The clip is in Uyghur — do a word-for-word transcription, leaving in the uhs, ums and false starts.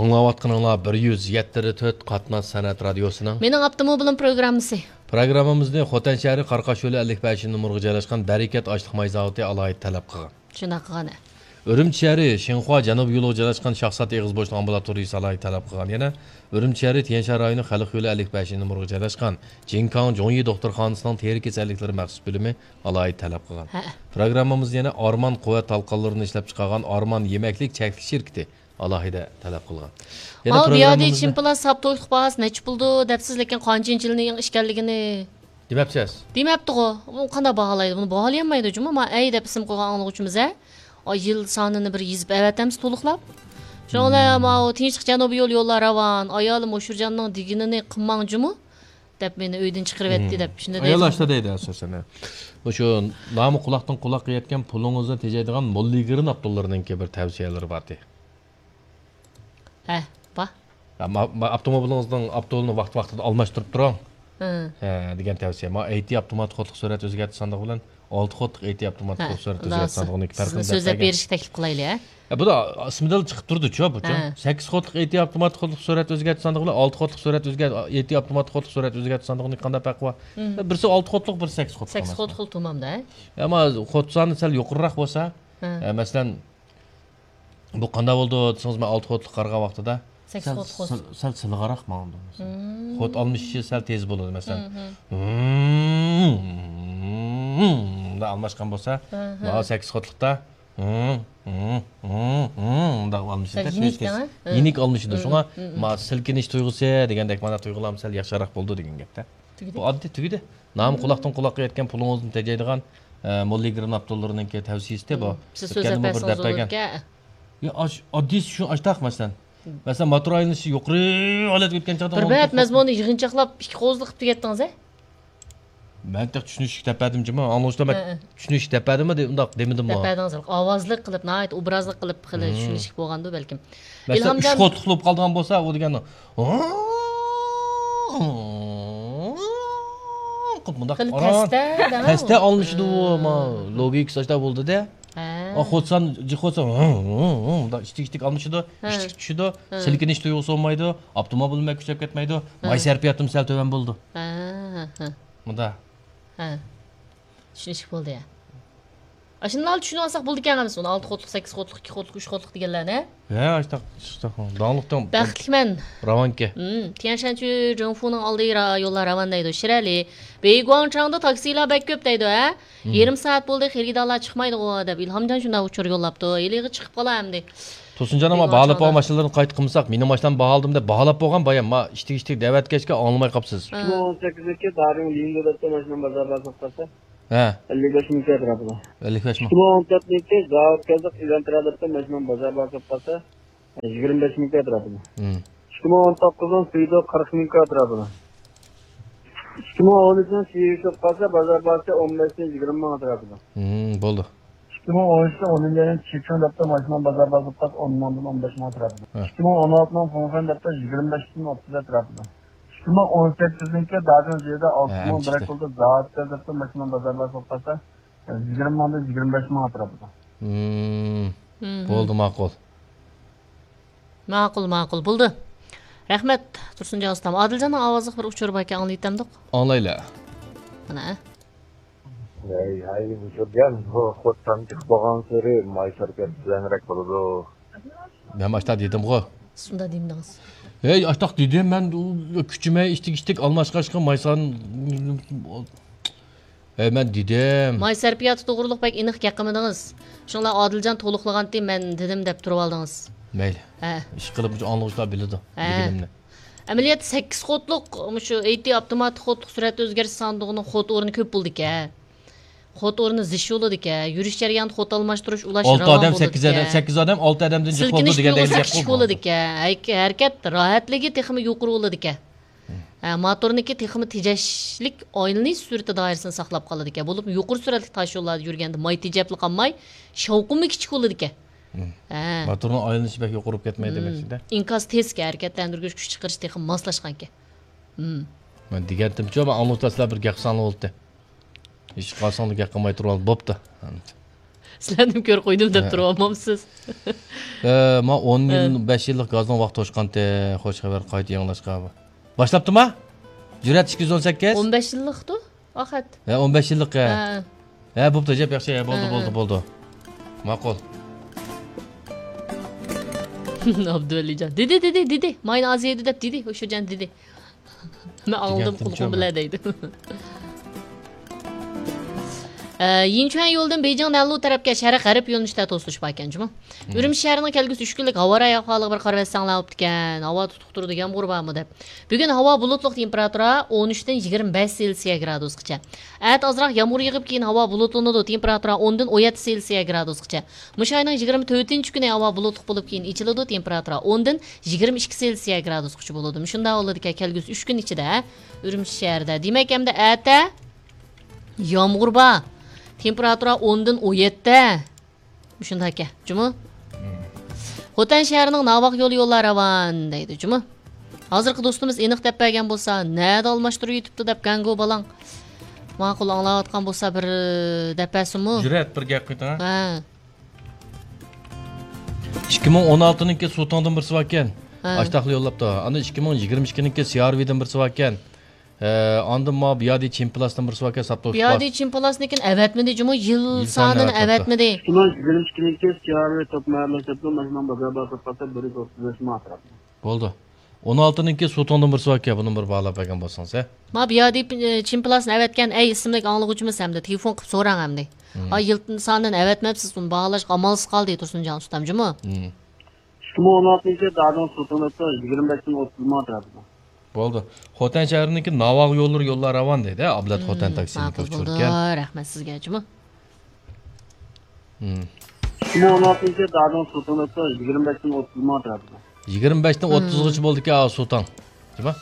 ئاڭلاۋاتقىنىڭلار بىر يۈز يەتتە تۆت قاتناش سەنئەت رادىيوسىنىڭ مېنىڭ ئاپتوموبىلىم پروگراممىسى. پروگراممىمىزنى خوتەن شەھىرى قاراقاش يولى ئەللىك بەشىنچى نومۇرغا جايلاشقان بەرىكەت ئاشلىق ماي زاۋۇتى ئالاھىدە تەلەپ قىلغان. شۇنداق قىلغان. ئۈرۈمچى شەھىرى شىنخۇا جەنۇب يولىغا جايلاشقان شاخسات ئېغىز بوشلۇق ئامبۇلاتورىيىسى ئالاھىدە تەلەپ قىلغان. يەنە ئۈرۈمچى شەھىرى تيەنشان رايونى خەلق يولى ئەللىك بەشىنچى نومۇرغا جايلاشقان جىنكاڭ جوڭيى دوختۇرخانىسىنىڭ تېرە كېسەللىكلىرى مەخسۇس بۆلۈمى ئالاھىدە تەلەپ قىلغان. ھە. پروگراممىمىزنى يەنە ئارمان قۇۋۋەت تالقانلىرىنى ئىشلەپچىقارغان ئارمان يېمەكلىك چەكلىك شىركىتى ئالاھىدە تەلەپ قىلغان. يەنە ماۋۇ بىيادى پروگراممىمىزنى چىمپىلار ساپ تويلۇق باھاسى نەچچە پۇلدۇر دەپسىز، لېكىن قانچىنچى يىلنىڭ ئىكەنلىكىنى دېمەپسىز. دېمەپتىغۇ. ئۇ قانداق باھالايدۇ؟ بۇنى باھالىيالمايدۇ جۇمۇ. ما ئەي دەپ ئىسىم قويغان ئاڭلىغۇچىمىز ھە. ئاي، يىل سانىنى بىر يېزىپ ئەۋەتەمسە تولۇقلاپ. شۇڭا ماۋۇ تىنچلىق جەنۇبىي يول، يوللار راۋان، ئايالىم ئوشۇرجاننىڭ دېگىنىنى قىلماڭ جۇمۇ دەپ مېنى ئۆيدىن چىقىرىۋەتتى دەپ شۇنداق ئايال دەيدۇ. ئاشتا دەيدۇ ئاساسەن. مۇشۇ نامى قۇلاقتىن قۇلاققا يەتكەن پۇلىڭىزنى تېجەيدىغان موللىگرىن ئابدۇللىرىنىڭكى بىر تەۋسىيەلىرى بارتى. ھە، بار. يا، ما-، ما-، ئاپتوموبىلىڭىزنىڭ ئاپتولىنى ۋاقىت-ۋاقتىدا ئالماشتۇرۇپ تۇرۇڭ. ھە. ھە، دېگەن تەۋسىيە. ما ئەي تى ئاپتوماتىك قوتلۇق سۈرئەت ئۆزگەرتىش ساندۇقى بىلەن ئالتە قوتلۇق ئەي تى ئاپتوماتىك ھە، قوتلۇق سۈرئەت ئۆزگەرتىش ساندۇقىنىڭ پەرقىنى سۆزلەپ بەرگەن. بېرىشكە تەكلىپ قىلايلى، ھە؟ يا، بۇ دا ئىسمىدىلا چىقىپ تۇرىدۇچۇ، بۇچۇ. ھە. سەككىز قوتلۇق ئەي تى ئاپتوماتىك قوتلۇق سۈرئەت ئۆزگەرتىش ساندۇقى بىلەن ئالتە قوتلۇق سۈرئەت ئۆزگەر-، ئەي تى ئاپتوماتىك قوتلۇق سۈرئەت ئۆزگەرتىش ساندۇقىنىڭ قانداق پەرقى بار؟ مم. بىرسى ئالتە قوتلۇق، بىرسى سەككىز قوتلۇق سەككىز ئەمەسمۇ؟ قوتلۇق تامامدا، ھە؟ ئەمما قوت سانى سەل يۇقىرىراق بولسا، ھە. ئە، مەسىلەن، بۇ قانداق بولىدۇ دېسىڭىز، مەن ئالتە قوتلۇق قارىغان ۋاقتىدا سەككىز سەل قوتلۇق. سىل-، سەل سىلىغاراق ماڭىدۇ. مم. قوت ئالمىشىشى سەل تېز بولىدۇ، مەسىلەن. مم، مم. مۇنداق ئالماشقان بولسا، ھە، ھە. مانا سەككىز قوتلۇقتا مم، مم، مم، مم، مۇنداق ئالمىشىدۇ. سەل يېنىك تېز، تېز. دەڭە. ھە. يېنىك ئالمىشىدۇ. مم، شۇڭا مم، مم. ما سىلكىنىش تۇيغۇسى دېگەندەك مانا تۇيغۇلارمۇ سەل ياخشىراق بولىدۇ دېگەن گەپتە. تۈگىدى. بۇ ئاددىي تۈگىدى. نامى قۇلاقتىن قۇلاققا يەتكەن پۇلىڭىزنى تېجەيدىغان، ئە، موللىگرىن ئابدۇللىرىنىڭكى تەۋسىيىسىدە بۇ. سىز سۆزلەپ بەرسىڭىز بولىدىكەن. يا، ئاش-، ئاددىيسى شۇ، ئاشتاق مەسىلەن. مەسىلەن، موتور ئايلىنىشى يۇقىرى ھالەتكە ئۆتكەن چاغدا بىر بەت مەزمۇننى يىغىنچاقلاپ ئىككى قوزۇق قىلىپ تۈگەتتىڭىز، ھە؟ مەن تېخى چۈشىنىشلىك دەپ بەردىمجۇمۇ، ئاڭلىغۇچىلار، مەن ھە، ھە. چۈشىنىشلىك دەپ بەردىممۇ دە-، ئۇنداق دېمىدىممۇ؟ دەپ بەردىڭىز، ئاۋازلىق قىلىپ، ناھايىتى ئوبرازلىق قىلىپ، خېلى مم. چۈشىنىشلىك بولغاندۇ بەلكىم. مەسىلەن، ئۈچ ئىلھامجان قوتلۇق بولۇپ قالىدىغان بولسا، ئۇ دېگەن قىلىپ مۇنداق خېلى ئاران پەستە، دەڭە. پەستە ئالمىشىدۇ، مم. ما، لوگىكىسى ئاشتا بولدى-دە. ھە. ئا، قوتسان، جى قوتسان، ھىڭ، ھىڭ، ھىڭ، مۇنداق ئىشتىك-ئىشتىك ئالمىشىدۇ، ھە. ئىشتىك چۈشىدۇ، ھە. سىلكىنىش تۇيغۇسى بولمايدۇ، ئاپتوموبىل بەك كۈچەپ كەتمەيدۇ، ھە. ماي سەرپىياتىمۇ سەل تۆۋەن بولىدۇ. ھە، ھە، ھە. مۇنداق. ھە. چۈشىنىشلىك بولدى يا. ئاشۇنداقلا چۈشىنىۋالساق بولىدىكەن ئەمەسمۇ، ئالتە قوتلۇق، سەككىز قوتلۇق، ئىككى قوتلۇق، ئۈچ قوتلۇق دېگەنلەرنى. ھە، ئاشتاق، ئاشتاق. داڭلىق دەڭ. بەختلىكمەن. راۋانكى. مم، تيەنشەنچۈ جېڭفۇنىڭ ئالدى را-، يوللار راۋان دەيدۇ. شىرئەلى، بېيگۇاڭچاڭدا تاكسىلار بەك كۆپ دەيدۇ، ھە؟ مم. يېرىم سائەت بولدى، خېرىدارلار چىقمايدىغۇ دەپ ئىلھامجان شۇنداق ئۇچۇر يوللاپتۇ. ھېلىغا چىقىپ قالا ئەمدى. تۇرسۇنجان ئاما، بېيگۇاڭچاڭدا. باھالاپ بولغان ماشىنىلارنى قايتا قىلمىساق، مېنىڭ ماشىنامنى باھالىدىم دەپ باھالاپ بولغان بايام، ما ئىشتىك-ئىشتىك دەۋەتكەچكە ئاڭلىماي قاپسىز. ھە. ئىككى مىڭ ئون سەككىزنىڭكى دارىڭ لىڭدۇ دەپتۇ، ماشىنام بازار بار سوققانسا. ھە. ئەللىك بەش مىڭ كىراتتى راپىدا. ئەللىك بەش مىڭ. ئىككى مىڭ ئون تۆتنىڭكى زاۋۇت كەلدۇق، ئېلانتىرا دەپتۇ، ماشىنام بازار بار سوققانسا. يىگىرمە بەش مىڭ كىراتتى راپىدا. ھىم. ئىككى مىڭ ئون توققۇزنىڭ سۈيدۇ قىرىق مىڭ كىراتتى راپىدا. ئىككى مىڭ ئون ئۈچنىڭ سىۋىشوپ قالسا، بازار باھاسى ئون بەشتىن يىگىرمە مىڭ ئەتراپىدا. ھىم، بولدى. ئىككى مىڭ ئون ئۈچتە ئون مىليون چېچۇڭ دەپتۇ، ماشىنا بازار باھاسى ئون مىڭدىن ئون بەش مىڭ ئەتراپىدا. ھە. ئىككى مىڭ ئون ئالتىنىڭ فۇڭفېن دەپتۇ، يىگىرمە بەشتىن ئوتتۇز ئەتراپىدا. ئىككى مىڭ ئون سەككىزنىڭكى دادىڭ جىدا ئالتە ھە، مىڭ بىر ئەمچىكتە. ئەكولدا زاۋۇت دەپتۇ، ماشىنا بازار باھاسى قالسا، يىگىرمە مىڭدىن يىگىرمە بەش مىڭ ئەتراپىدا. ھىم. ھىم، ھىم. بولدى، ماقۇل. ماقۇل، ماقۇل. بولدى. رەھمەت، تۇرسۇنجان ئۇستام. ئادىلجاننىڭ ئاۋازلىق بىر ئۇچۇرى باركەن، ئاڭلىۋېتەمدۇق؟ ئاڭلايلى. مانا. ھەي، ھەي، ئۇچۇرجان، بۇ خوتسان چىقىپ بولغانسېرى ماي سەرپىياتى تۆۋەنرەك بولىدۇ. مەن باشتا دېدىمغۇ. شۇنداق دېمىدىڭىز. ھەي، ئاشتاق دېدىم مەن، ئۇ كۈچىمەي ئىشتىك-ئىشتىك ئالماشقاچقا مايسان. ھەي، مەن دېدىم. ماي سەرپىياتى توغرۇلۇق بەك ئېنىق گەپ قىلمىدىڭىز. شۇڭلار ئادىلجان تولۇقلىغانتى، مەن دېدىم دەپ تۇرۇۋالدىڭىز. مەيلى. ھە. ئىشقىلىپ مۇشۇ ئاڭلىغۇچىلار بىلىدۇ ھە. دېگىنىمنى. ئەمەلىيەتتە سەككىز قوتلۇق، مۇشۇ ئەي تى ئاپتوماتىك قوتلۇق سۈرئەت ئۆزگەرتىش ساندۇقىنىڭ قوت ئورنى كۆپ بولىدىكەن. قوت ئورنى زىچ بولىدىكەن. يۈرۈش جەريانىدا قوت ئالماشتۇرۇش، ئۇلاش ئالتە ئادەم، سەككىز ئادەم، سەككىز ئادەم، ئالتە ئادەمدىن جىق بولىدۇ دېگەندەك گەپ بولىدۇ. سىلكىنىش تۇيغۇسى كۈچلۈك بولىدىكەن. ھەرىكەت راھەتلىكى تېخىمۇ يۇقىرى بولىدىكەن. ھە، موتورنىڭكى تېخىمۇ تېجەشلىك ئايلىنىش سۈرئىتى دائىرىسىنى ساقلاپ قالىدىكەن. بولۇپمۇ يۇقىرى سۈرئەتلىك تاش يوللاردا يۈرگەندە ماي تېجەپلا قالماي، شاۋقۇنمۇ كىچىك بولىدىكەن. ھە. موتورنىڭ ئايلىنىشى بەك يۇقىرى بولۇپ كەتمەيدۇ دېمەكچىدە. ئىنكاس تېزكەن، ھەرىكەتلەندۈرگۈچ كۈچ چىقىرىش تېخىمۇ ماسلاشقانكەن. مەن دېگەنتىمچۇ، مەن ئاڭلىغۇچىلار سىلەر بىر گەپ قىلساڭلار بولدى. ھېچ قالساڭلار گەپ قىلماي تۇرۇۋال، بوپتۇ. سىلەرنىمۇ كۆرۈپ قويدۇم دەپ ھە. تۇرۇۋالمامسىز؟ ئە، ما ئون يىل، ھە. بەش يىللىق گازنىڭ ۋاقتى توشقانتى، خوش خەۋەر قايتا يېڭىلاشقا. باشلاپتىما؟ جۈرئەت ئىككى يۈز ئون سەككىز. ئون بەش يىللىقتۇ، ئاخەت. ھە، ئون بەش يىللىق، ھە. ھە. ھە، بوپتۇ، جەپ ياخشى، ھە، بولدى، ھە، بولدى، ھە. بولدى. ماقۇل. ئابدۇۋەلىجان. دېدى، دېدى، دېدى. ماينى ئاز يەيدۇ دەپ دېدى، ئوشۇجان دېدى. مەن ئاڭلىدىم دېگەنتىم قۇلىقىم شۇ بىلەن مەن. دەيدۇ. ئە، يىنچۈەن يولىدىن بېيجىڭ نەنلۇ تەرەپكە شەرق غەرب يۆنىلىشتە توسۇلۇش باركەن جۇمۇ. مم. ئۈرۈمچى شەھىرىنىڭ كەلگۈسى ئۈچ كۈنلۈك ھاۋا رايى ئەھۋالىغا بىر قارىۋەتسەڭلار بوپتىكەن. ھاۋا تۇتۇق تۇرىدۇ، يامغۇر بارمۇ دەپ. بۈگۈن ھاۋا بۇلۇتلۇق، تېمپېراتۇرا ئون ئۈچتىن يىگىرمە بەش سېلسىيە گرادۇسقىچە. ئەتە ئازراق يامغۇر يېغىپ، كېيىن ھاۋا بۇلۇتلىنىدۇ، تېمپېراتۇرا ئوندىن ئون يەتتە سېلسىيە گرادۇسقىچە. مۇشۇ ئاينىڭ يىگىرمە تۆتىنچى كۈنى ھاۋا بۇلۇتلۇق بولۇپ، كېيىن ئېچىلىدۇ، تېمپېراتۇرا ئوندىن يىگىرمە ئىككى سېلسىيە گرادۇسقىچە بولىدۇ. مۇشۇنداق بولىدىكەن كەلگۈسى ئۈچ كۈن ئىچىدە ئۈرۈمچى شەھىرىدە. دېمەك، ئەمدى ئەتە يامغۇر بار. تېمپېراتۇرا ئوندىن ئون يەتتە. مۇشۇنداق ئىكەن جۇمۇ. خوتەن شەھىرىنىڭ ناۋاق يولى يوللار راۋان دەيدۇ جۇمۇ. ھازىرقى دوستىمىز ئېنىق دەپ بەرگەن بولسا، نەدە ئالماشتۇرۇۋېتىپتۇ دەپ گەڭگۇ بالاڭ. ماقۇل ئاڭلاۋاتقان بولسا بىر دەپ بەرسىمۇ؟ جۈرئەت بىر گەپ قىلىڭ. ھە. ئىككى مىڭ ئون ئالتىنىڭكى سۇتاڭدىن بىرسى باركەن. ھە. ئاشتاقلا يوللاپتۇ. ئاندىن ئىككى مىڭ يىگىرمە ئىككىنىڭكى سىئارۋىدىن بىرسى باركەن. ھە، ئاندىن ما بىيادى چىمپىلاسدىن بىرسى باركەن، ساپتا بىيادى چىمپىلاسنىڭكىنى ئەۋەتمىدى جۇمۇ، يىل يىل سانىنى سانىنى ئەۋەتمىدى. ئەۋەتمىدى. ئىككى مىڭ يىگىرمە ئىككىنىڭكى سىئارۋى توپ مەھەللە شەپتۇ ماشىنا بازار بار ساپاسى بىر يۈز ئوتتۇز بەش مانات. بولدى. ئون ئالتىنىڭكى سۇتاڭدىن بىرسى باركەن، بۇنى بىر باھالاپ بەرگەن بولسىڭىز، ھە؟ ما بىيادى، ئى، چىمپىلاسنى ئەۋەتكەن، ئەي ئىسىملىك ئاڭلىغۇچىمىز ھەمدە تېلېفون قىلىپ سوراڭ ئەمدى. مم. ئا، يىل سانىنى ئەۋەتمەپسىز، ئۇنى باھالاشقا ئامالسىز قالدى تۇرسۇنجان ئۇستام جۇمۇ. مم. ئىككى مىڭ ئون ئالتىنچى يىل دادىڭىز سۇتاڭدا يىگىرمە بەشتىن ئوتتۇز مانات تەرىپىدە. بولدى. خوتەن شەھىرىنىڭكى ناۋاغ يوللىرى يوللار راۋان دەيدۇ. ئابلەت خوتەن تاكسىنىڭكى ماقۇل ئۇچۇركەن. بولدى. رەھمەت سىزگە جۇمۇ. مم. ئىككى مىڭ ئون ئالتىنچى يىل دادىڭىز سۇتاڭدا يىگىرمە بەشتىن ئوتتۇز مانات تەرىپىدە. يىگىرمە بەشتىن ئوتتۇزغىچە بولدىكەن، ئا، سۇتاڭ. جۇمۇ.